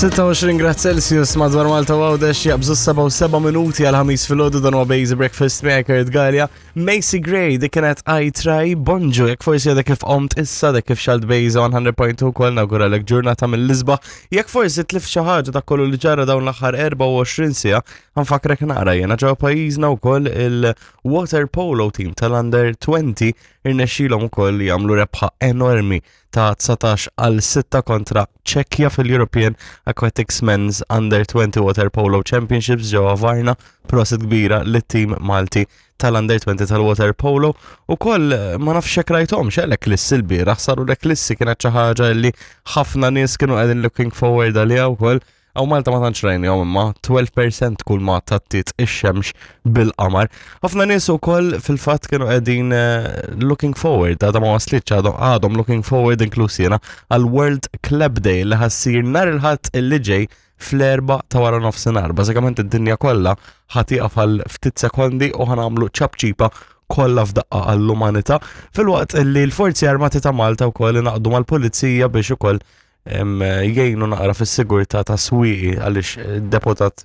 26 grad Celsius madwar Malta u Għawdex jaqbżu 7 minuti għal ħamis fil-ħodu dan huwa Basic Breakfast miegħek Kurt Gallia. Macy Gray dik kienet I Try Bonġu jekk forsi għadek kif qomt issa dak kif xalt Bejza 100.2 kol nawguralek ġurnata mill-isba. Jekk forsi tlif xi ħaġa dak kollu li ġara dawn l-aħħar 24 siegħa, ħanfakrek naqra jiena ġewwa pajjiżna wkoll il-water polo team tal-under 20 irnexxilhom ukoll jagħmlu rebħa enormi ta' 19 għal 6 kontra Ċekja fil-European Aquatics Men's Under 20 Water Polo Championships ġewwa Varna, prosit kbira lit-tim Malti tal-Under 20 tal-Water Polo u koll eh, ma nafx hekk rajthomx eh, l-eklissi l-bieraħ saru l-eklissi kienet xi ħaġa li ħafna nies kienu qegħdin looking forward għaliha wkoll. Hawn Malta ma tantx rajnihom imma 12% kull ma tattiet ix-xemx bil-qamar. Ħafna nies ukoll fil-fatt kienu qegħdin eh, looking forward, għadha ma waslitx għadhom looking forward inkluż jiena għal World Club Day li ħassir nhar il-Ħadd illi ġej fl-erba ta' wara nofsinhar. Bażikament id-dinja kollha ħatiqaf għal ftit sekondi u ħanamlu ċapċipa kollha f'daqqa għall-umanità filwaqt li l-Forzi Armati ta' Malta wkoll ingħaqdu mal-Pulizija biex ukoll jgħinu naqra fis-sigurtà ta' Swieqi għaliex eh, deputat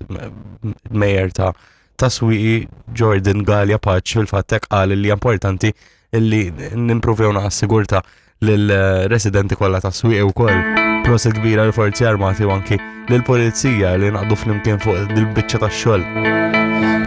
mayor ta' ta' Swieqi Jordan Galea Paċ fil-fatt hekk qal li importanti li nimprovjaw naqra s-sigurtà lill-residenti kollha ta' Swieqi wkoll. Prosit kbira l-Forzi Armati u anki lill-Pulizija li naqdu flimkien fuq dil-biċċa tax-xogħol.